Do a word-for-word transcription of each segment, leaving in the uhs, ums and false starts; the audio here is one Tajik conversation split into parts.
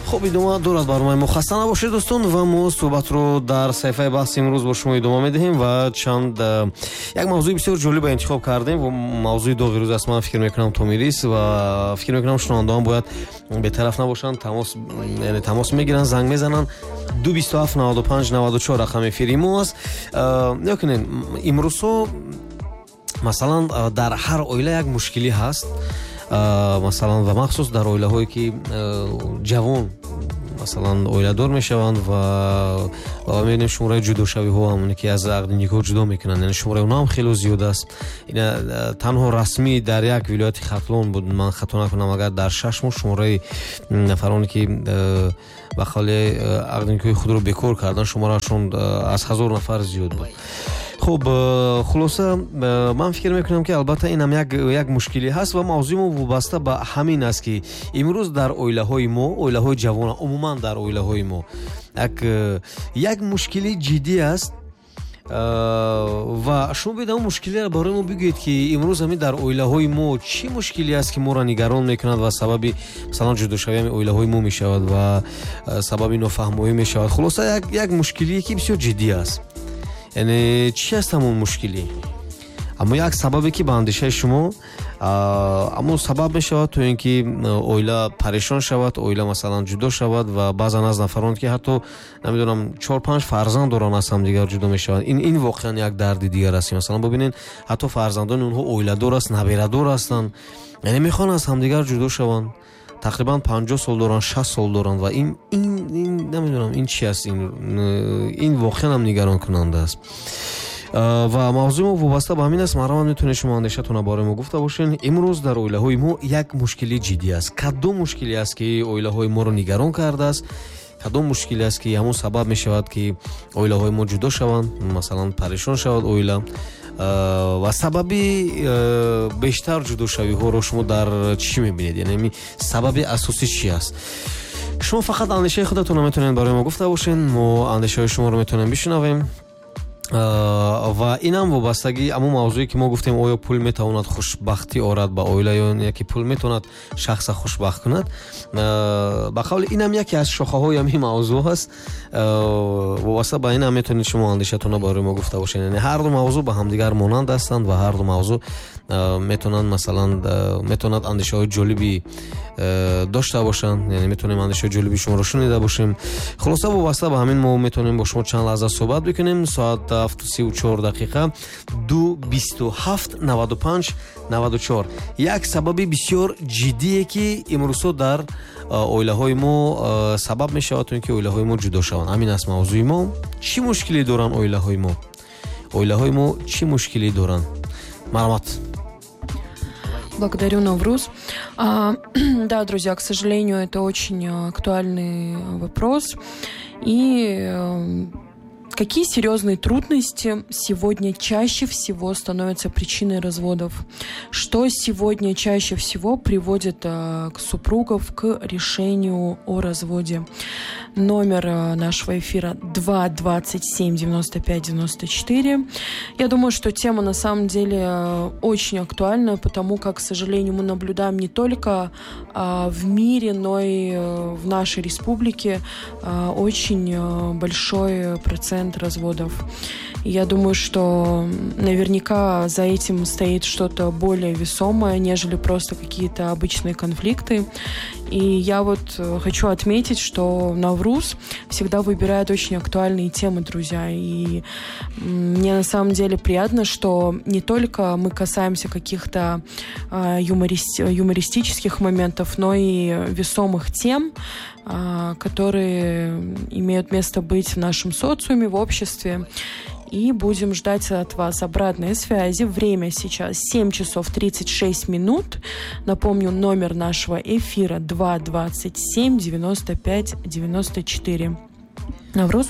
Хуб, идома дорад барномаи мо. Хаста набошед, дӯстон, ва мо суҳбатро дар саҳифаи баҳси имрӯз бо шумо идома медиҳем ва чанд як мавзӯи бисёр ҷолиба интихоб кардем ва мавзӯи доғи рӯз аст. Ман фикр мекунам, Томирис, ва фикр мекунам, шунавандаон бояд бетараф набошанд, тамос, яъне тамос мегиранд, занг мезананд. Ду бисту ҳафт наваду панҷ наваду чор рақами эфири мо аст. Нигоҳ кунед, имрӯзҳо масалан дар ҳар оила як мушкилӣ ҳаст, масалан, ва махсус дар оилаҳое ки ҷавон масалан оиладор мешаванд ва ва мебинем шумораи ҷудошавиҳо ҳам, ки аз ақди никоҳ ҷудо мекунанд, яъне шумораи онҳо ҳам хеле зиёд аст. Ина танҳо расмӣ дар як вилояти Хатлон буд, ман хато накунам, агар дар шаш моҳ шумораи нафароне ки ба қавли ақди никоҳи худро бекор карданд, шумораашон аз ҳазор нафар зиёд буд. Хуб, хулоса, ман фикр мекунам, ки албатта ин ҳам як як мушкилӣ ҳаст ва мавзӯи мо вобаста ба ҳамин аст, ки имрӯз дар оилаҳои мо, оилаҳои ҷавон, умуман дар оилаҳои мо як як мушкили ҷиддӣ аст. Ва шумо биёед ҳамон мушкилиро барои мо бигӯед, ки имрӯз ҳамин дар оилаҳои мо чӣ мушкиле аст, ки моро нигарон мекунад ва сабаби масалан ҷудошавии ҳамин оилаҳои мо мешавад ва сабаби нофаҳмоӣ мешавад. Хулоса, як як мушкилие ки бисёр ҷиддӣ аст. Яъне чӣ аст ҳамон мушкилӣ? Аммо як сабабе ки ба андешаи шумо аммо сабаб мешавад то ин ки оила парешон шавад, оила масалан ҷудо шавад ва баъзан аз нафарон ки ҳатто намедонам чор панҷ фарзанд доранд, аз ҳамдигар ҷудо мешаванд. Ин ин воқеан як дарди дигар аст. Масалан бибинед, ҳатто фарзандони онҳо оиладор аст, набирадор ҳастанд, яъне мехоҳанд аз ҳамдигар ҷудо шаванд. Тақрибан панҷоҳ сол доранд, шаст сол доранд ва ин ин ин намедонам ин чи аст, ин ин воқеан ҳам нигаронкунанда аст. Ва мавзӯи мо вобаста ба ҳамин аст. Марҳамат, метавонед шумо андешатонро барои мо гуфта бошед. Имрӯз дар оилаҳои мо як мушкили ҷиддӣ аст. Кадом мушкиле аст, ки оилаҳои моро нигарон кардааст? Кадом мушкиле аст, ки ҳамон сабаб мешавад, ки оилаҳои мо ҷудо шаванд, масалан парешон шавад оила? Ва сабаби бештар ҷудошавиҳоро шумо дар чӣ мебинед? Яъне сабаби асосӣ чӣ аст? Шумо фақат андешаи худатонро метавонед барои мо гуфта бошед, мо андешаҳои шуморо метавонем бишунавем. Ва инам вобастагӣ ҳамон мавзӯе ки мо гуфтем, оё пул метавонад хушбахтӣ орад ба оила ё яке пул метавонад шахса хушбахт кунад? Ба қавли инам яке аз шохаҳои ҳамин мавзӯъ аст. Вобаста ба инам метавонед шумо андешатонро барои мо гуфта бошед. Яъне ҳар ду мавзӯъ ба ҳамдигар монанд ҳастанд ва ҳар ду мавзӯъ метавонанд, масалан, метавонад андешаҳои ҷолиби дошта бошанд, яъне метавонем андешаҳои ҷолиби шуморо шунида бошем. Хулоса, вобаста ба ҳамин мо метавонем бо шумо чанд лаҳза суҳбат бикунем. Соат ҳафту сию чор дақиқа, ду бисту ҳафт наваду панҷ наваду чор. Як сабаби бисёр ҷиддие, ки имрӯзҳо дар оилаҳои мо сабаб мешавад то ин ки оилаҳои мо ҷудо шаванд. Ҳамин аст мавзӯи мо. Чӣ мушкиле доранд оилаҳои мо? Оилаҳои мо чӣ мушкиле доранд? Марҳамат. Благодарю, Навруз. А, да, друзья, к сожалению, это очень актуальный вопрос. И какие серьезные трудности сегодня чаще всего становятся причиной разводов? Что сегодня чаще всего приводит э, к супругов к решению о разводе? Номер э, нашего эфира два двадцать семь девяносто пять девяносто четыре. Я думаю, что тема на самом деле э, очень актуальна, потому как, к сожалению, мы наблюдаем не только э, в мире, но и э, в нашей республике э, очень э, большой процент разводов. И я думаю, что наверняка за этим стоит что-то более весомое, нежели просто какие-то обычные конфликты. И я вот хочу отметить, что Навруз всегда выбирает очень актуальные темы, друзья. И мне на самом деле приятно, что не только мы касаемся каких-то юморист, юмористических моментов, но и весомых тем, которые имеют место быть в нашем социуме, в обществе. И будем ждать от вас обратной связи. Время сейчас семь часов тридцать шесть минут. Напомню, номер нашего эфира два двадцать семь девяносто пять девяносто четыре. Навруз?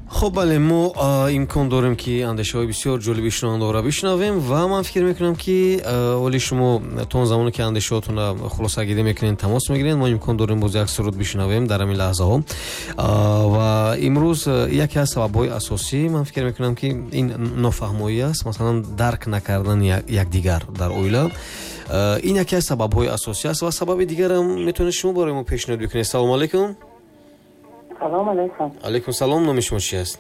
Хуб, бале, мо имкон дорем, ки андешаҳои бисёр ҷолиби шунавандаҳоро бишнавем ва ман фикр мекунам, ки оли шумо то он замоне ки андешаҳотонро хулосагирӣ мекунед, тамос мегиред, мо имкон дорем боз як суруд бишнавем дар ҳамин лаҳзаҳо. Ва имрӯз яке аз сабабҳои асосӣ, ман фикр мекунам, ки ин нофаҳмоӣ аст, масалан дарк накардани якдигар дар оила. Ин яке аз сабабҳои асосӣ аст ва сабаби дигарам метавонед шумо барои мо пешниҳод бикунед. Салому алайкум. Салом алейкум. Алейкум салом. Номи шумо чи аст?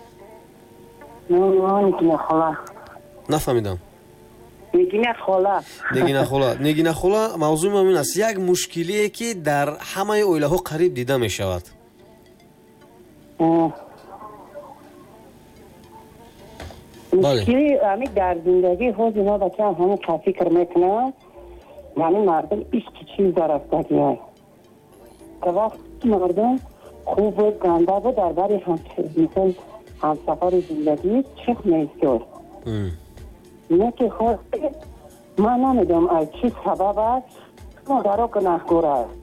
Номи ман Нигина хола. Нафаҳмидам. Нигина хола. Нигина хола. Нигина хола, мавзӯи мо ин аст: як мушкилие ки дар ҳамаи оилаҳо қариб дида мешавад. Мушкили ами дар зиндагӣ ҳозир ма бачаам ҳамин қа фикр мекунам, ҳамин мардум ишқи чиз дарафтагиай. Вақт мардум хуб буд, ганда буд, дар бари мисол ҳамсафари зиндагӣ чих меистод. Не ки ҳозир ман намедонам аз чӣ сабаб аст, модаро гунаҳкор аст.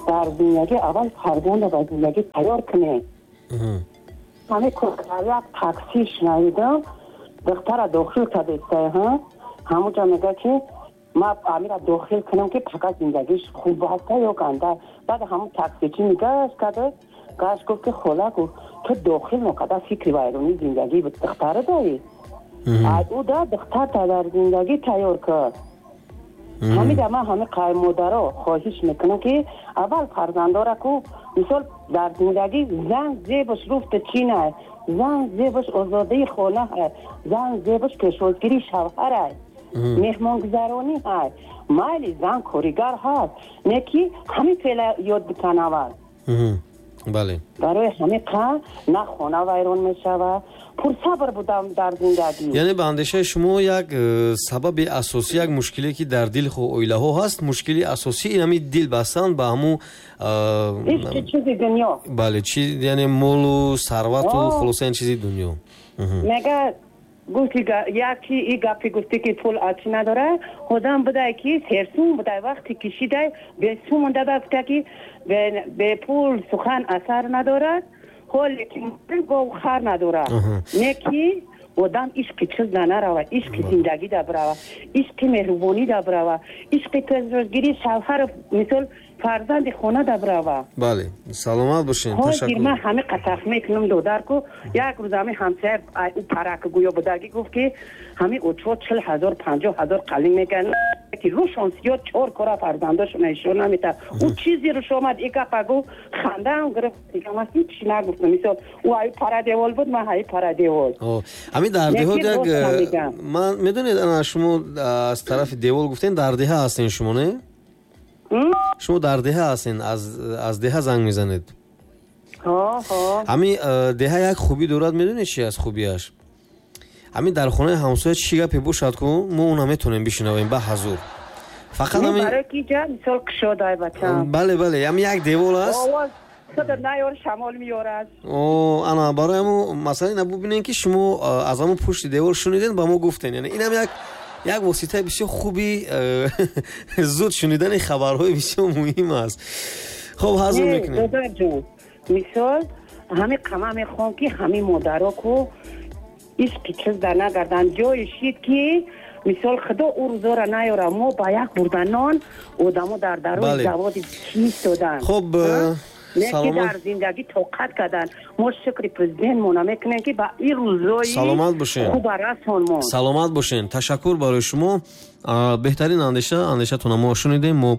Дар зиндагӣ аввал фарзандро ба зиндагӣ тайёр кунед. Ҳамин як такси шунавидам, духтара дохил кардестай, ҳамонҷо мега ки ман амира дохил кунам ки фақат зиндагиш хуб ҳаста ё ганда. Баъд ҳамон таксичи нигоҳ карда, гаш гуфт ки хола, гуфт ту дохил нокарда фикри вайронии зиндагии духтара дорӣ. Ай ӯ да духтарта дар зиндагӣ тайёр кард. Ҳамида ман ҳамин қай модаро хоҳиш мекунам ки аввал фарзандора ку мисол дар зиндагӣ зан зебаш руфта чин ай, зан зебаш озодаи хона ай, зан зебаш пешвозгирии шавҳар ай, меҳмонгузаронӣ ай. Майли зан коригар ҳаст, не ки ҳамин феъла ёд битан аввал. Бале. Барои ҳамин қа на хона вайрон мешавад. Пурсабр будам дар зиндагӣ. Яъне ба андешаи шумо як сабаби асосӣ, як мушкиле ки дар дили оилаҳо ҳаст, мушкили асосӣ ин ҳамин дил бастан ба ҳамун ишқи чизи дунё. Бале, чи яъне молу сарвату хулоса ин чизи дунё. Мега гуфти яки и гапи гуфти ки пул аз чӣ надора, одам будай ки серсум будай, вақте кишидай бесум монда, гуфта ки бепул сухан асар надорад, ҳоле ки гов хар надорад. Не ки одам ишқи чиз да нарава, ишқи зиндагӣ да бирава, ишқи меҳрубонӣ да бирава, ишқи пешвозгирии шавҳар мисол фарзанди хона да бирава. Бале, саломат бошед. Ташаккур. Ман ҳамин қатах мекунам додарку. Як рӯз ҳамин ҳамсоя ӯ парак гӯё будагӣ гуфт ки ҳамин очо чил ҳазор панҷоҳ ҳазор қалин мекунад ки рӯшон сиёд чор кора фарзандошон ишон намета. Ӯ чизе рӯш омад и гапа гуфт, хандаам гирифт, дигар ман ҳеҷ нагуфтам. Мисол ӯ ай парадевол буд, ман ҳай парадевол. Ҳамин дар деҳот як ман медонед, ана шумо аз тарафи девол гуфтен, дар деҳа ҳастен шумо, не? Шумо дар деҳа ҳастен, аз аз деҳа занг мезанед. Ҳамин деҳа як хубӣ дорад, медонед чи аст хубиаш? Ҳамин дар хонаи ҳамсоя чӣ гапе бошад ку мо она метавонем бишнавем ба ҳазур. Фақат ҳамин барои ки ҷа мисол кушодай бачам. Бале, бале, ҳамин як девол аст. Овоз худ наёр шамол меёрад. О, ана барои ҳамун масъала ина бубинем ки шумо аз ҳамун пушти девол шуниден ба мо гуфтен. Яъне инам як як воситаи бисёр хуби зуд шунидани хабарҳои бисёр муҳим аст. Хоб, ҳазур мекунем. Додарҷон, мисол ҳамин қама мехоҳам ки ҳамин модаро ку ишқи чиз дар нагарданд. Ҷое шид ки мисол худо ӯ рӯзора наёра, мо ба як бурданон одамо дар дарои заводи чист доданд. Хоб, не ки дар зиндагӣ тоқат карданд. Мо шукри президентмона мекунем ки ба ин рӯзои саломат бошед, хуба расонмон. Саломат бошед. Ташаккур барои шумо. Беҳтарин андеша, андешатона мо шунидем. Мо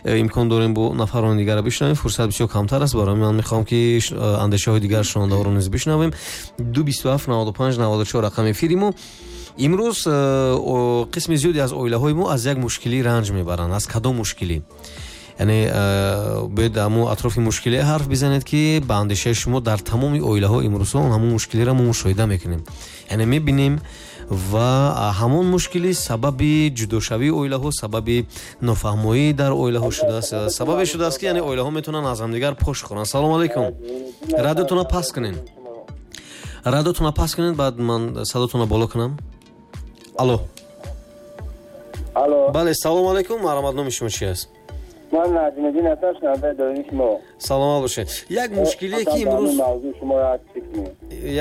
имкон дорем бо нафарони дигарро бишнавем. Фурсат бисёр камтар аст, барои ман мехоҳам ки андешаҳои дигар шунавандаҳоро низ бишнавем. Ду бисту ҳафт наваду панҷ наваду чор рақами эфири мо. Имрӯз қисми зиёде аз оилаҳои мо аз як мушкилӣ ранҷ мебаранд. Аз кадом мушкилӣ? Яъне бояд ҳамун атрофи мушкиле ҳарф бизанед ки ба андешаи шумо дар тамоми оилаҳо имрӯзҳо ҳамун мушкилиро мо мушоҳида мекунем. Яъне мебинем ва ҳамон мушкилӣ сабаби ҷудошавии оилаҳо, сабаби нофаҳмоӣ дар оилаҳо шудааст, сабабе шудааст ки яъне оилаҳо метавонанд аз ҳамдигар пош хӯранд. Салому алайкум. Радиотона паст кунед. Радиотона паст кунед, баъд ман садотона боло кунам. Алло. Алло. Бале, салому алайкум. Марҳамат, номи шумо чи аст? Ман Наҷмиддин ҳастам, шунавандаи доимии шумо. Саломат бошед. Як мушкиле ки имрӯз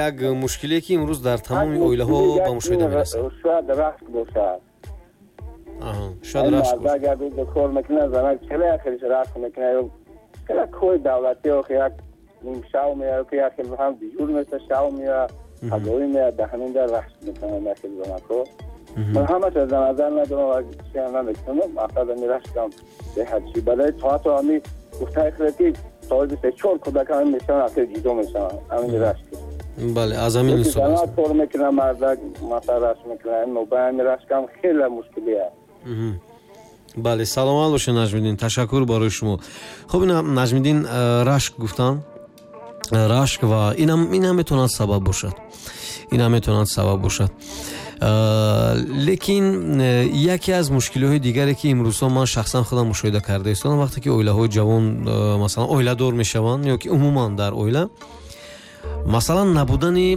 як мушкиле ки имрӯз дар тамоми оилаҳо ба мушоҳида мерасад. Шояд рашк бошад. Аҳа, шояд рашк бошад. Агар рӯз кор мекунад, занак чела як хелиш рашк мекунад ё чела кори давлатӣ охи як нимшав меяд, ки як хел ҳам дежур меша, шав меяд, ҳагоӣ меяд, дар ҳамин дар рашк мекунанд як хел занакҳо. Ман ҳамаша дар назар надорам ва чиам намекунам, мақсад ами рашкам беҳад чи. Барои то ҳатто ами Гуфтаи ки соҳиби се чор кӯдак ҳамин мешаванд, ахир ҷудо мешаванд, ҳамин рашк. Бале, аз ҳамин. Ҳисоб кор мекунам, мардак масалан рашк мекунам, мобайни рашкам хеле мушкилӣ аст. Бале, саломат бошед, Наҷмиддин, ташаккур барои шумо. Хуб, ина Наҷмиддин э, рашк гуфтанд, э, рашк ва инам инам метавонад сабаб бошад, инам метавонад сабаб бошад. э, лекин яке аз мушкилиҳои дигаре, ки имрӯзҳо ман шахсан худам мушоҳида карда истодам, вақте ки оилаҳои ҷавон, масалан, оиладор мешаванд ё ки умуман дар оила, масалан, набудани,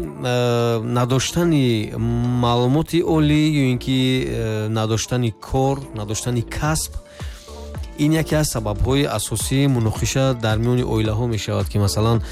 надоштани маълумоти олӣ ё ин ки надоштани кор, надоштани касб, ин яке аз сабабҳои асосии муноқиша дар миёни оилаҳо мешавад, ки масалан